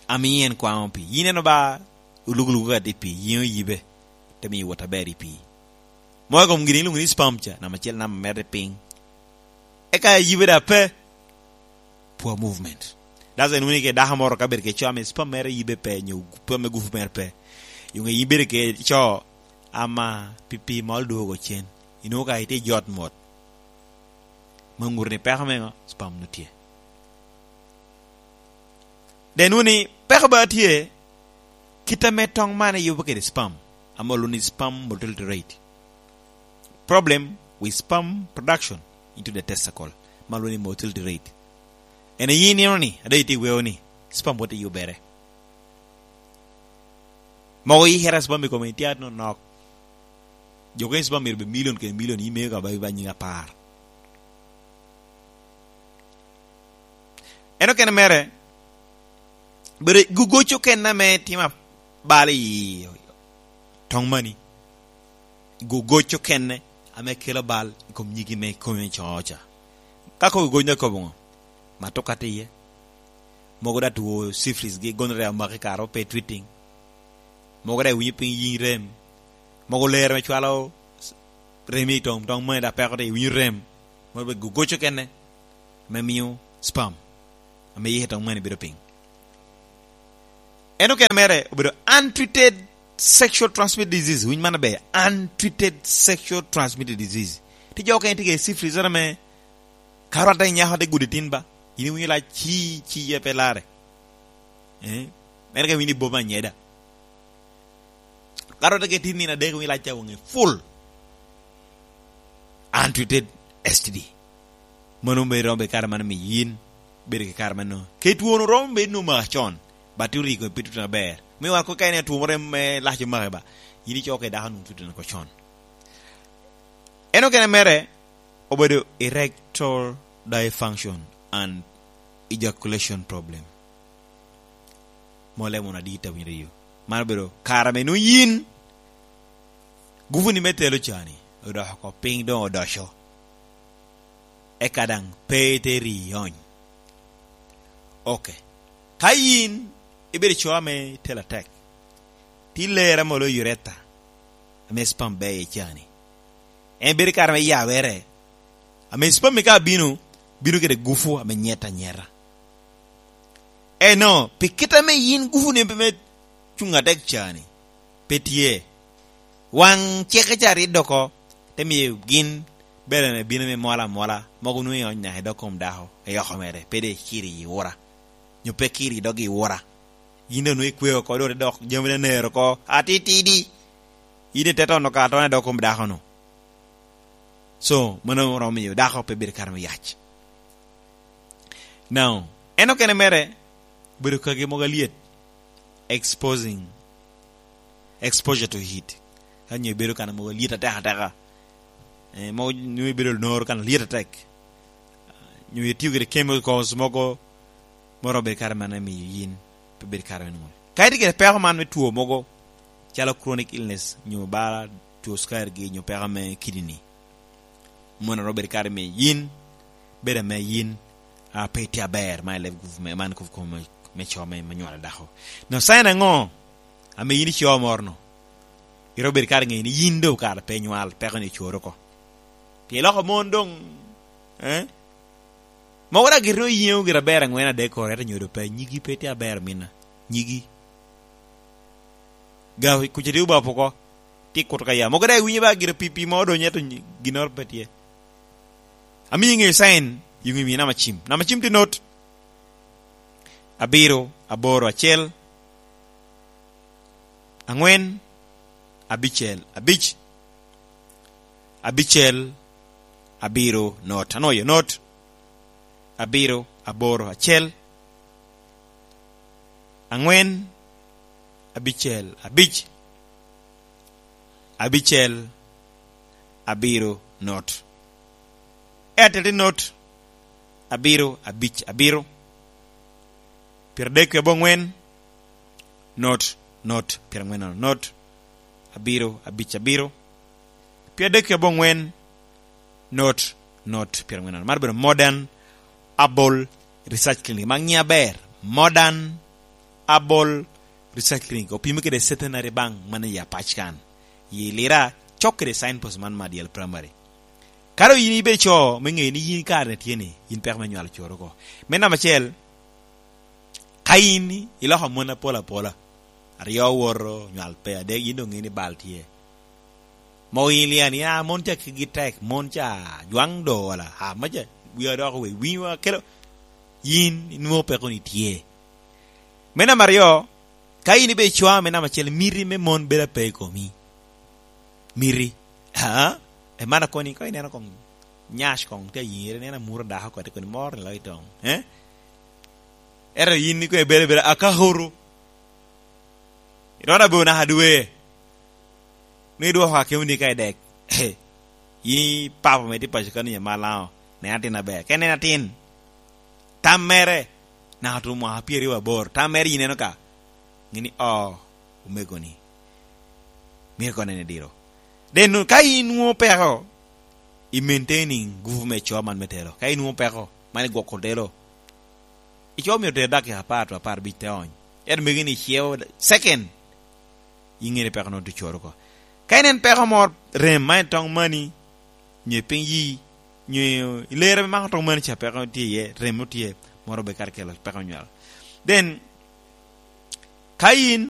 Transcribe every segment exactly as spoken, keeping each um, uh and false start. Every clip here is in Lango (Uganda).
Ami en kwaŋo pii. Yin en oba olugulugu kadi pii, yin oyibe, te miyo wot aber i pii. Mo i kom gin ilwongo ni sperm ca, namba acel, namba mere piny. Eka yibe da pe, poor movement. That's why inwongo ni ke dako moro ka bedo ke co ame sperm mere yibe pe, nyo sperm me gufu mere pe. Yung ibedo ke co ama pi pii mol dwogo cen. Inwongo ka itye jot mot. Ma ŋuto ni peko mengo, sperm no tye. Den wuni peko ba tye, kit ame tong man eyubo kede sperm, ame olwoŋo ni sperm motility rate. Problem with sperm production into the testicle, ma olwoŋo ni motility rate. En ayi nino ni, ada iti weo ni, sperm wote yubere. Mogo yikere sperm i kome itye anonok. Jo kene sperm myero bed milion kede milion, imeo ka ba, ba nyiŋ apar. En okene mere, bedo gogoco kene ame timo abal i toŋ mani. Gogoco kene ame kelo bal i kom nyigi me kome coca. Ka kobo gogoco na kobo ŋo? Matoka tye iye. Mogo da two syphilis gi gonorrhea omaki kare pe twitting. Mogo da iwinyo piny yin rem. Mogo lero me cwalo rem i toŋ, toŋ mani da peko te iwinyo rem. Mogo be gogoco kene me miyo sperm ame yike toŋ mani bedo piny. En okene mere obedo untreated sexual transmitted disease. Winy man aber, untreated sexual transmitted disease. Ti jo okene tye kede syphilis, ame ka rwatte nyako te gudo itin ba, yin iwinyo lac ci, ci ye pe lare. Eh? Mere ka iwinyo ibobo anyeda. Ka rwatte ke tin nino adek, iwinyo lac ca waŋe full. Untreated S T D. Mano me romo bedo kare man omiyo yin bedo ki kare mano. Ke twono romo bedo ni omaka con, but oriko pe tutu aber. Me wan ko ka en two moro me lac omaki ba, yin icoko i dako nwoŋo tutu ko con. En okene mere obedo erectile dysfunction and ejaculation problem. Mole mono adit awinyo riyo. Man obedo kare ame nwoŋo yin gufuni me telo cani odoko oko piny, doŋ odoco. Eka daŋ pe ite ri ony. Ok. Ka yin ibedo co ame telo atek, ti lera molo urethra ame sperm beye cani. En bedo kare me yawere, ame sperm ka bino, bino kede gufu ame nyet anyeta. Eno, pi kit ame yin gufuni pe me cuŋ atek cani, pe tye. Waŋ ceke ca rit doko, te miyo gin bere me bino me mola amola, mogo nwoŋo i ony naka i dog kom dako, i oko mere, pe de kiri i ura. Nyo pe kiri i dog i ura. Yin doŋ nwoŋo ikweo oko, doŋ te dok jami ne nero oko, atitidi. Yin ite tono ka atona i dog kom dako-nu. So, mano romo miyo dako pe bedo kare me yac. Now, en okene mere, bedo kagi mogo alyet, exposing, exposure to heat. Ka nyo ibedo kan mogo alyet atek ateka. Eh, mogo nyo ibedo noro kan alyet atek. Nyo itio kede chemicals mogo, moro bedo kare man amiyo yin pe bedo kare me nwoŋo. Ka itye kede peko man me two mogo, calo chronic illness, nyo bala two sukari gi, nyo peko me kidney. Mono ro bedo kare me yin, bedo ame yin, a, pe itye aber, man i leb gufu me, man gufu me, me co me, me nywalo dako. No, sign aŋo ame yin ico moro-nu? Iro bedo kare ŋeyo ni yin doŋ kare pe nywal, peko ni ocoro oko. Pi loko mon doŋ, eh? Mogo da gire oyiŋo gire aber aŋwen adek koro, ento nyodo pe, nyigi pe tye aber mina. Nyigi. Ga kuca tye obapo oko, tye kuto ka ya. Mogo da iwinyo ba gire pipi mo odonyo, ento nyi-, ginnoro pe tye. Amiyo iŋeyo sign, yuŋ imiyo namba cim. Namba cim tye not. Abiro, aboro, acel, aŋwen, abicel, abic, abicel, abiro, not. Anwoyo not. Abiro, aboro, acel, aŋwen, abicel, abic, abicel, abiro, not. Airtel tye not, abiro, abic, abiro, pyeradek ki aboŋwen, not, not, pyeraŋwen, not, abiro, abic, abiro, pyeradek ki aboŋwen, not, not, pyeraŋwen. Mar bedo Modern Herbal Research Clinic. Ma ŋiya ber, Modern Abol Recycling opimo kede Centenary Bank man i Apac kan, i Lira, cok kede signpost man Madiel Primary. Ka doŋ yin ibe co me ŋeyo ni yin kare-ni tye ni, yin peko me nywalo coro oko. Me namba acel, ka yin iloko mon apol apola, aryo owoto, nywal pe, adek, yin doŋ ŋeyo ni bal tye. Mogo yin lia ni, "Ah, mon ca kegi tek, mon ca jwaŋ do wala, ah, maca, wia dok we, winywa kelo." Yin inwoŋo peko ni tye. Me namba aryo, ka yin ibe cwa me namba acel, miti me mon bedo ape i komi. Miti. Ah, e man akoni, ka ineno kong nyac kong tye ayiŋere, ineno amuro dako kodi koni mor ni lo i toŋ. Eh? Ento yin ni kwe bere bere akakoro. Irona bo naka dwe. Ni dwoko akemo ni ka i dek. Yi papa me tye paco kani ya malaŋo. Ne atin aber. Ka en en atin. Tam mere. Naka tuŋ mwaka pyeraryo aboro. Tam mere yi neno ka. Ŋeni, oh, omego ni. Myero kono en ediro. Den nu-, ka in nwoŋo peko, i maintaining gupu me co man me telo. Ka in nwoŋo peko, man igwoko telo. Ico myero oter dakika apar to apar abic te ony. Ento megi ni ceo second, iŋeo ni peko nwoŋo tucoro oko. Ka en en peko moro, rem ma en toŋ mani, nyo i piny yi, nyo i lere me mako toŋ mani ca peko tye iye, rem nwoŋo tye, moro be kare kelo peko nywal. Then, ka in,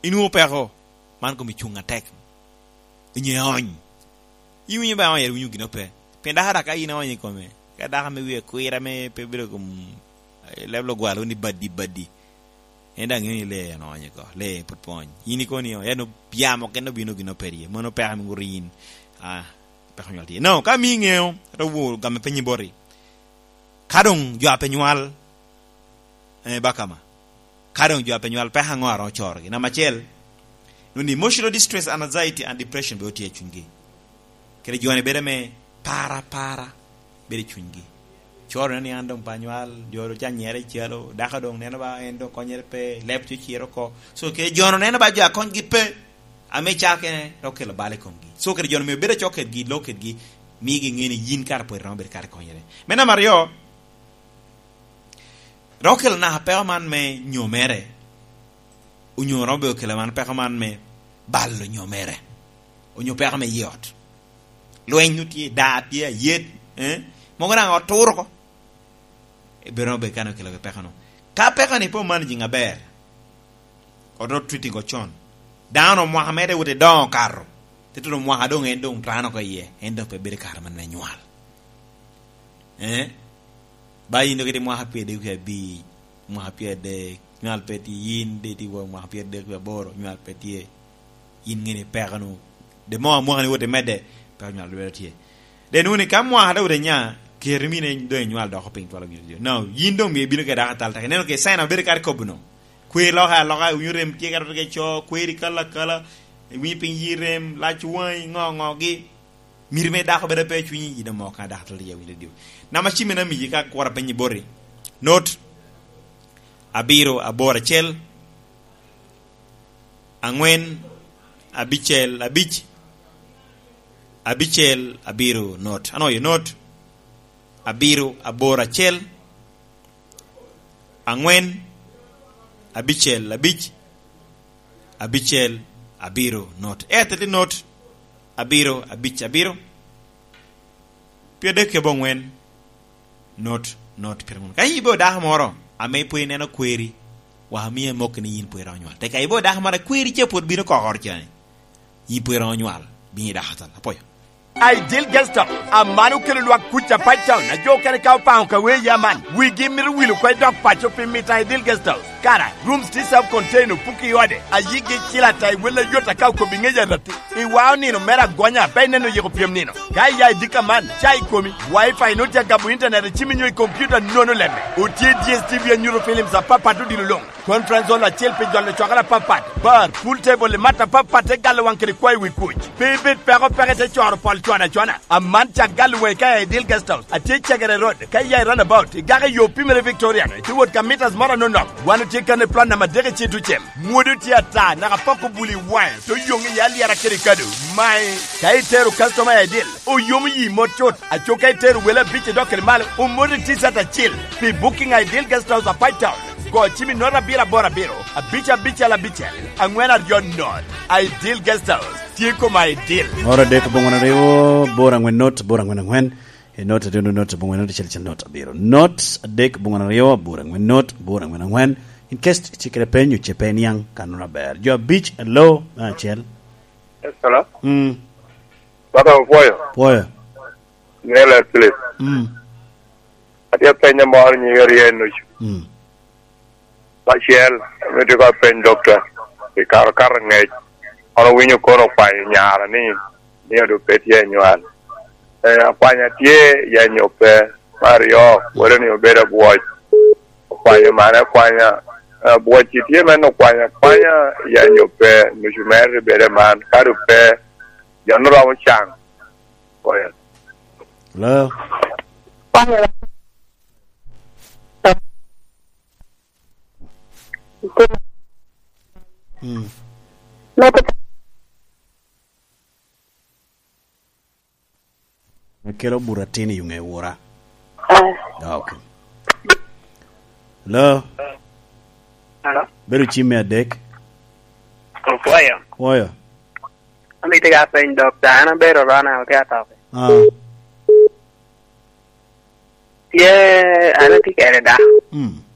inwoŋo peko, man kom icuŋ atek. Inyo iony. Iwinyo ba iony, iwinyo gin ope. Pien dako dak ka in aony i kome, ka dako ame wie kwir ame pe bedo kom, eh, level ogwalo ni badi, badi. En daŋ ŋeo ni lee en oony oko, lee pwod pe oony. In ikono ni, en yamo kene obino gin ope rye. Mano peko ame guro yin. Ah, peko nywal tye. No, ka mi ŋeo, ate wo gamme penyi boti. Ka doŋ jo a pe nywal, eh, bakama. Ka doŋ jo a pe nywal, peko aŋo a romo corogi? Namba acel, nwoŋo ni emotional distress, anxiety and depression be otye i cunygi. Kede jo ni bedo me para, para, bedo i cunygi. Coro neno ni an doŋ pe anywal, jo doŋ canyere i calo, dako doŋ neno ba en doŋ konyere pe, leb tye ociro oko. So, kede jo neno ba jo a konygi pe, ame caa kene, dok kelo bal i komgi. So, kede jo ni me bedo cok kedgi, lok kedgi, migi ŋe ni yin kara pwod iromo bedo kara ikonyere. Me namba aryo, Romo kelo naka peko man me nyomere, onyo romo bedo kelo man peko man me balo nyomere, onyo peko me yot. Lweny nwoŋo tye, daa tye, ayet, eh? Mogo daŋ oturo oko. Ebedo romo bedo kan okelo peko no. Ka peko ni pe omanaging aber, oto treating ocon. Dano mwaka mere wote doŋo okato. Te tuno mwaka doŋ en doŋ tano oko iye, en doŋ pe bedo kare man me nywal. Eh? Ba yin doŋ kede mwaka pyerdek wie abic, mwaka pyerdek, nywal pe tye, yin de tye wa mwaka pyerdek wie aboro, nywal pe tye. Yin ŋeni peko nu. De mo mwaka ni wote medde, peko nywal lwelo tye. De nu ni ka mwaka de wote nya, keri mine doŋ inywal doko piny twalo gin tye. No, yin doŋ mie bino kede dako atal tek. Ineno ke sign abedo kare kobo no. Kwer loka aloka, iwinyo rem tye ka rot ke co, kweri kala kala, iwinyo piny yi rem, lac waŋi, ŋo, ŋo gi. Miri me dako bedo pe cwinyi, yin amo ka dako tol ya winyo dio. Nama cimi na miji ka kwara penyi boti. Not abiro aboro acel, angwen, abicel, abic, abicel, abiro, not. Ano ye not abiro aboro acel, angwen, abicel, abic, abicel, abiro, not. Airtel not, abiro, abic, abiro, pyerdek kebe ongwen, not, not, pyerangwen. Ka in ibedo dako moro, ame pwod ineno kweri, wa amiye mok ni yin pwod iromo nywal. Teka ibedo dako moro, kweri ce pwod bino kokoro cani. Yin pwod iromo nywal, bino i dako atal. Apoyo. Ideal Guest House, aman okelo lwak kuc Apac Town, a jo okene ka opaŋo ka wee ya man, wigi mito wil oko i dok paco pi mito Ideal Guest House. Kara, rooms tye self contained, opuki i ode, a yigi cil ata i wel ayot aka okobi ŋec arati. I wao nino mere agonya, pe ineno yiko pyem nino. Ka iya i dika man, ca i komi, wifi nut ya gabo internet i cimi nyo i computer nono lemme. Otye D S T V anyuto films apapat odilo lung. Conference hall acel pi jolo cwakere apapat, bar, pool table i mat apapat te galo waŋ kede kwayo wi kuc. Pe ibed peko peke te coro pol cwana cwana. Aman cak galo waŋi ka i Ideal Guest House. Atye i Cegere Road, ka iya i runabout, igako i yo pimere Victorian, ite wot ka meters moro anonok. Wan otye kan i plot namba adek i Citucem. Mwodo tye ata, naka poko buli i waŋe, to yoŋ i alyera kede kado. Mae, ka itero customer i Ideal, oyomo yi mot cut. Aco ka itero wele abic idok kede malo, omoti T-shirt acel. Pi booking i Ideal Guest House Apac Town, Go cim i not abiro aboro abiro, abic abicel abicel, angwen aryo not. Ideal Guest House tye i kom Ideal. Oro adek bongwen aryo, bor angwen not, bor angwen angwen. I not adek not, bongwen not, acel acel not abiro. Not adek bongwen aryo, bor angwen not, bor angwen angwen. In case tye kede peny, oce pe iniang kannono aber. Jo abic, hello, me acel. Yes, hello. Mm. Baba, opwoyo? Pwoyo. Nela Philip. Mm. Atye apenyo moro nyiŋe rye nucu. Mm. Acel, amito ka apeny dokta, i kare okato ngec, an owinyo kono okwanyo nyara ni, ni odo pe tye anywal. Eh, akwanya tye, ya nyo pe? Me aryo, wode ni obedo abwoc. Okwanyo mane akwanya. Eh, abwoc tye men okwanya, akwanya, ya nyo pe? Nucu mere bedo man, ka do pe, jo no romo can. Oya. Hello? Mm. Me kelo buto atin i ŋe wora. Ah. Ah, okay. Hello? Hello? Bedo cim me adek. Opwoyo. Pwoyo. Amito ka peny dokta, an abedo rona, otye atop. Ah. Tye, an atye kede dako. Mm.